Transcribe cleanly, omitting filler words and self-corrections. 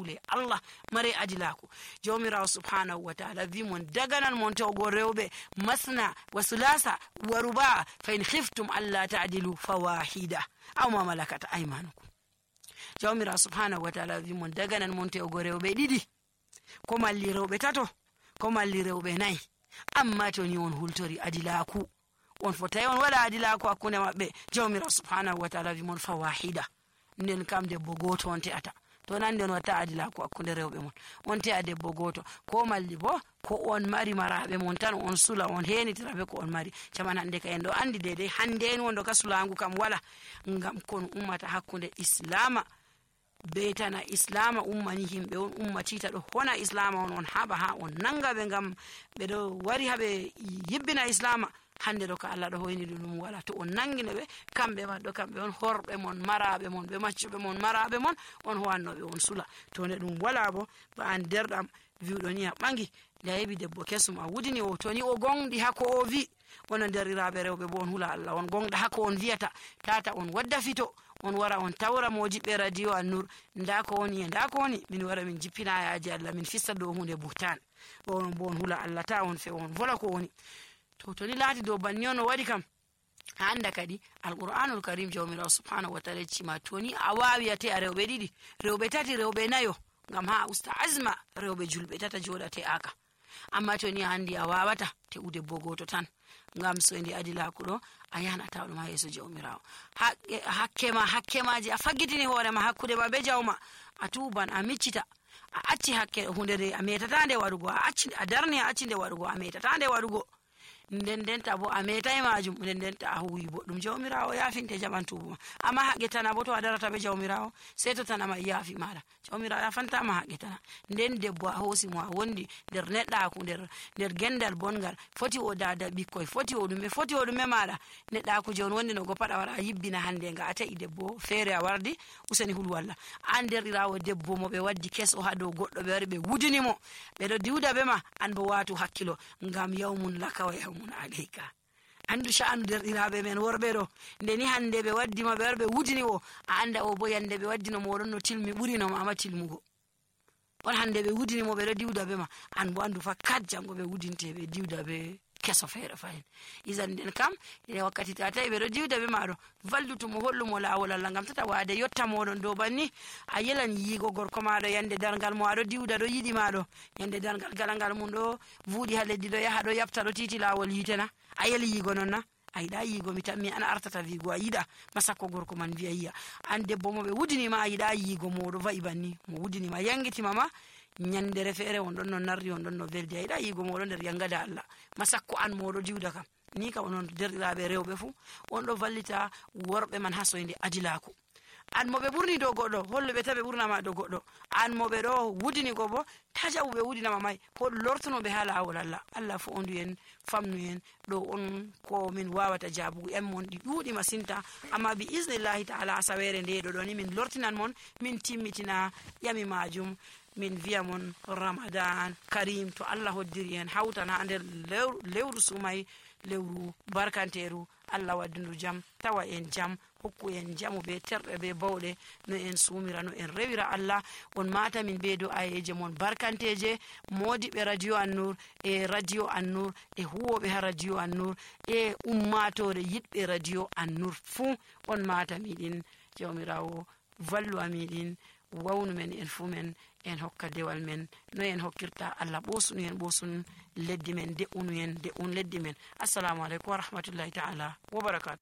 hakkule Allah mare adilaku jawmirawo subhanahu wa ta'ala wi mon daganan mon tawgo rewbe masna wa sulasa wa ruba fa in khiftum alla ta'dilu fawahida aw ma malakat aymanukum jawmirawo subhanahu wa ta'ala wi mon daganan mon tawgo rewbe didi ko malli rewbe tato ko malli rewbe nay amma to ni on hultori adilaku on fotay on wala adilaku hakkunde mabbe jawmirawo subhanahu wa ta'ala wi mon fawahida nden kam debbo goto on te'ata to nan den wata adilaku hakkunde rewbe mon on te'a debbo goto ko malli bo ko on mari marabe mon tan on sula on henitirabe ko on mari caman hande ka en do andi dede hande en wondo ka sulangu kam wala ngam kon ummata hakkunde islama betana islama ummani himbe on ummatita do hona islama on haba ha on nanga be ngam be do wari habe yibbina islama hande do ka Allah do hoyni dum wala to on nangine be kambe waddo kambe on horbe mon marabe mon be maccube mon marabe mon on howanno be on sula to ne dum wala bo ba an derdam viudo ni bangi da yebi debbo kesum a wudini o to ni o gongdi hako o vi wono derirabe rewbe bo on hula Allah on gongda hako on viata tata on wadda fito on wara on tawra mojibe radio an-nur ndako woni min wara min jippina yaaji Allah min fissa do hunde buhtan on bon hula Allah ta on fe on vola ko woni to ni lati do banni on wadi kam handa kadi alquranul karim jawmirawo subhanahu wa ta'ala cima to ni awawiyate a rewbe didi rewbe tati rewbe nayo ngam ha usta azma rewbe julbe tata jodate aka amma to ni handi awawata te ude bogoto tan ngam so ndi adilaku do ayana tawdo ma yeso jawmirawo hakkemaji a faggitini hoore ma hakkude ba be jawma a tuban a miccita a acci hakke hundere a metatande wadugo a acci a darni a acci de wadugo a metatande wadugo nden tabo a metai majum nden ta huwi boddum jawmirawo yafinte jabantubo amma hagetana bo to adarata be jawmirawo sai to tanama yafi mala jawmirawo yafanta ma hagetana nden debbo a hosi mo a wondi der nedda ku der gendal bongal foti o dada bikkoy foti o dume mala nedda ku jon wondi no go pada wara yibbina hande nga ata debbo fere a wardi usani hul walla an der irawo debbo mo be waddi kes o hado goddo be wari be wudini mo be do diuda be ma an bo watu hakkilo ngam yawmun laka wa mun alayka andu sha'anu derɗiraɓe men worɓe ɗo ndeni hande ɓe waddima ɓe warɓe wudini o a anda o bo yande ɓe waddino moɗon no tilmi ɓurinoma ama tilmugo on hande ɓe wudinimo ɓe ɗo diwda ɓe ma an bo andu fa kat jango ɓe wudinte ɓe diwda ɓe keso feere fayin isan nden kam e wakkati ta tawi ɓe ɗo diwda ɓe maɗo vallutumo hollumo lawol Allah ngam tata wade yotta moɗon dow banni a yelan yiigo gorko maɗo yande dargal mo aɗo diwda ɗo yiɗi maɗo yande dargal galangal mum ɗo vuuɗi ha leddi ɗo yaha ɗo yabta ɗo titi lawol yitena a yeli yiigo non na a yiɗa yiigo mi tammi an artata wiigo a yiɗa masakko gorko man wiya yiya an debbo mo ɓe wudinima a yiɗa yiigo moɗo va'i banni mo wudinima yangitima ma nyandere feere on don no narri on don no verdi ayda yigo modo der yangada Allah masakko an modo diwda kam ni ka onon derdiraabe rewbe fu on do vallita worbe man hasoyde adilako an mo be burni do goddo holbe tabe burna ma do goddo an mo be do wudini go bo tajawu be wudina ma mai ko lortuno be hala awol Allah fu ondu en famnu en do on ko min wawata jabu en mon di dudi masinta amma bi iznillahi ta'ala asawere de do ni min lortinan mon min timmitina yami majum min via mon Ramadan karim to Allah hoddiri en hawtana nder lewru sumay lewru barkanteru Allah waddindu jam tawa en jam hokku en jamu be terbe be bawde no en sumira no en rewira Allah on mata min be do ayeje mon barkanteje modi be radio an-nur e radio an-nur e huwobe ha radio an-nur e ummatore yidbe radio an-nur fu on mata midin jawmirawo vallu amidin wawnu men en fu men en hokka dewal men no en hokkirta Allah bosunu en bosun leddi men de unu en de un leddi men assalamu alaikum wa rahmatullahi ta'ala wa barakatuh